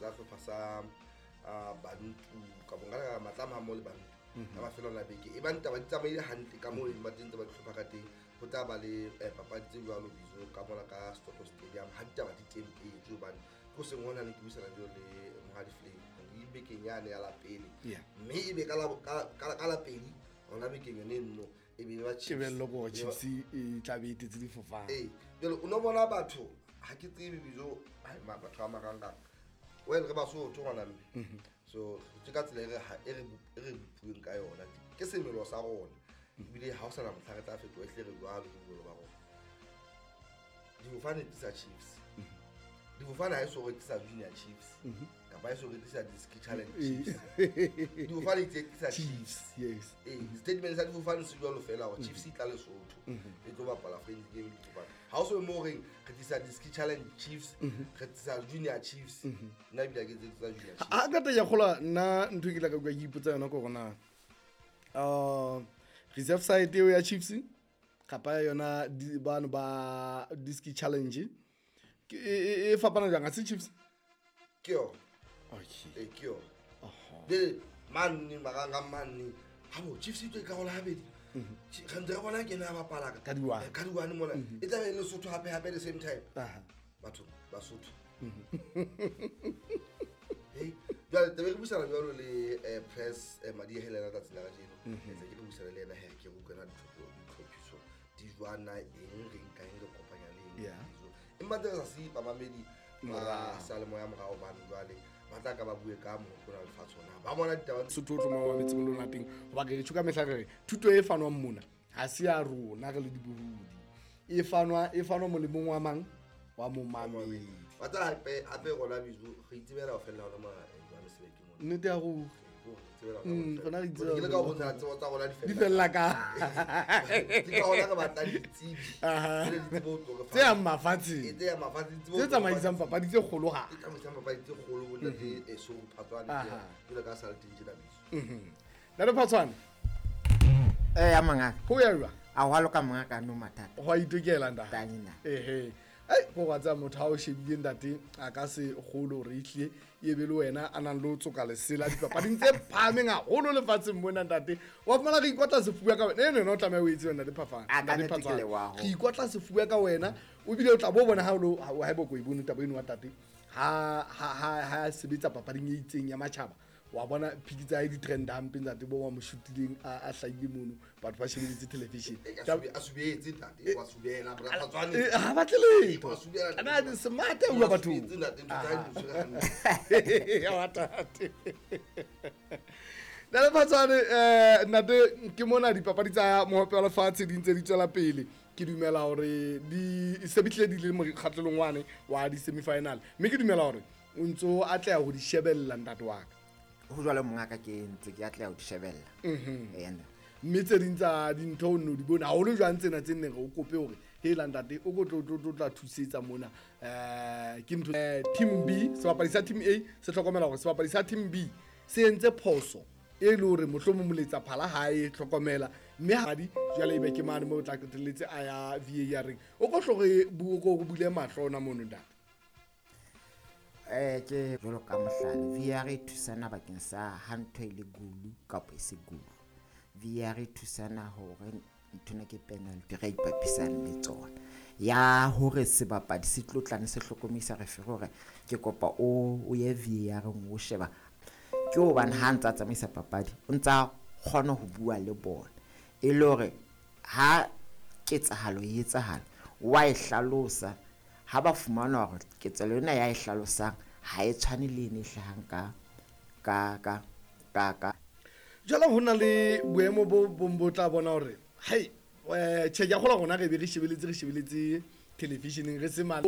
sa hlopha sa Bantu ka bongaka Matlama ha mmoho le Bantu ka mafelo a beke. E bang taba di tsamaile hantle ka moo e ba teng tse ba di hlopha ka teng, ho tla ba le papadi tse jwalo bizo ka mona ka Soto Stadium ha ditaba di tempetswe, hobane ko seng hona ne ke buisana jalo le Mohadi Flame di bekeng yane ya lapele, mme e be ka la pedi hona bekeng yone nno e be ba Chiefs. Tebello ke hore Chiefs e tla be e tetse difofane. Ee, jwale o no bona batho ha ke tsebe bizo batho ba marangrang, well re Basotho ngwana mme, so ke ka tsela e re bopuweng ka yona, ke semelo sa rona, ebile ha o sana mohla re tla fetoha, ehlile re jwalo ke bolo ba rona. Difofane di sa Chiefs, difofane ha e so rekisa Junior Chiefs kapa e so rekisa Diski Challenge Chiefs, difofane di rekisa Chiefs. Yes. Ee, statement sa difofane se jwalo fela hore Chiefs e tla Lesotho e tlo bapala friendly game difofane. Ha o so mo reng re tlisa Diski Challenge Chiefs, re tlisa Junior Chiefs, nna ebile ha ke tse tsa Junior Chiefs. Ha ka ya kgola nna ntho e ke la ka bua ke ipotsa yona ke hore na reserve side eo ya Chiefs kapa yona bano ba Diski Challenge e fapana jwang, ha se Chiefs? Ke yona. Okay. Ee, ke yona. Jwale manne marangrang manne ha bo Chiefs e tlo e karola habedi, re ntse re bona ke ena a bapala ka di-one. Ka di-one mona e tla be e le Lesotho hape hape the same time. Batho Basotho. Hey, jwale tebe re buisana jwalo le press Madihe le ena tsatsi la kajeno. Ntse ke re buisana le ena he ke re utlwela ditlhophiso di jwana eng re nka eng re kopanya le eng. Empa tse re sa se bamamedi ba seyalemoya morao bane jwale ba tla ka ba bue ka motho ona lefatshe ona ba bona ditaba. Sotho o tlo mo mametse mo lona teng, hoba ke re tjho ka mehla re re thuto e fanwang mona ha se ya rona re le dibohodi, e fanwa molemong wa mang, wa momamedi. Wa tseba hape, hape rona bizo re itsebela ho fella hona mona, jwale sebeke mona. Nnete ya ruri. Rona re itsebela Ke le ka ho bontsha tsebo tsa rona di fella. Di fella ka. Ke ka hona re batlang ditsebi. Tse le ditsebo tlo re fa. Tse yang mafatsheng. Tse yang mafatsheng, tsebo Tse tlo re fa. tsamaisang papadi tse kgolo ha. Tse tsamaisang papadi tse kgolo, bo ntate, so Phatswane, jwalo ka sa le teng tjena bizo. Ntate Phatswane. Ya mongaka. Ho ya jwang? A hwa loka mongaka, no mathata. Ho a itokela ntate. Tanyena. Ehe. Ai, ko wa tsaya motho ha o shebile ntate a ka se kgolo hore ehlile e be le wena a nang le ho tsoka lesela dipapading tse phahameng haholo lefatsheng mona ntate. Wa fumana re ikotla sefuba ka wena. Eno yena o tlameha o etse ntate Phafane. A ka Ntate nnete ke Phatswane. leboha ho. Re ikotla sefuba ka wena, o bile o tla bo bona ha o lo, ha o, ha eba o ko e bone taba eno wa tate. Ha sebetsa papading e itseng ya matjhaba, wa bona phiki tsa hae di trend hampe ntate, bo wa mo shotileng a hlahile mono, batho ba shebeletse television. A subetse ntate, wa subela, bra Phatswane. Ha batle letho. Wa subela, ntate. Ana di smart a bua Wa bathong. subetse, ntate, ntho tsa hae di tshwere hantle. Ya wa tate. Ntate Phatswane, ntate, ke mona dipapadi tsa mohope wa lefatshe di ntse di tswela pele. Ke dumela hore di se bitlile di le mokgatlelong wane wa di semi-final, mme ke dumela hore o ntso atleha ho di shebella ntate wa ka. Ho jwalo mongaka, ke ntse ke atleha ho di shebella. Ee, nna. Mme tse ding tsa dintho o nno di bone haholo jwang tsena tse neng re o kope hore hela ntate o ko tlo, tlo, tlo tla thusetsa mona. Ke ntho, team B, sebapadi sa team A se hlokomela hore sebapadi sa team B se entse phoso e le hore mohlomong moletsa phala ha e hlokomela, mme ha di jwale ebe ke mane moo o tla qetelletse a ya VAR reng. O ko hlo re o ko bule mahlo ona mono ntate. Ke jwalo ka mohlala, VAR e thusana bakeng sa ha ntho e le gulu kapa e se gulu. VAR e thusana hore nthwena ke penalty re ipapisang le tsona. Ya hore sebapadi se tlo tlane se hlokomedisa referee hore ke kopa o ye VAR o sheba. Ke hobane ha ntsa tsamaisa papadi, o ntsa kgona ho bua le bona. E le hore ha ketsahalo e etsahala, wa e hlalosa. Ha ba fumana hore ketsahalo ena ya e hlalosang ha e tshwane le ene e hlahang ka. Jwale ho na le boemo bo bong bo tla bona hore, hei, tjhe, ke a kgolwa rona re be re shebeletse television-eng re se mane.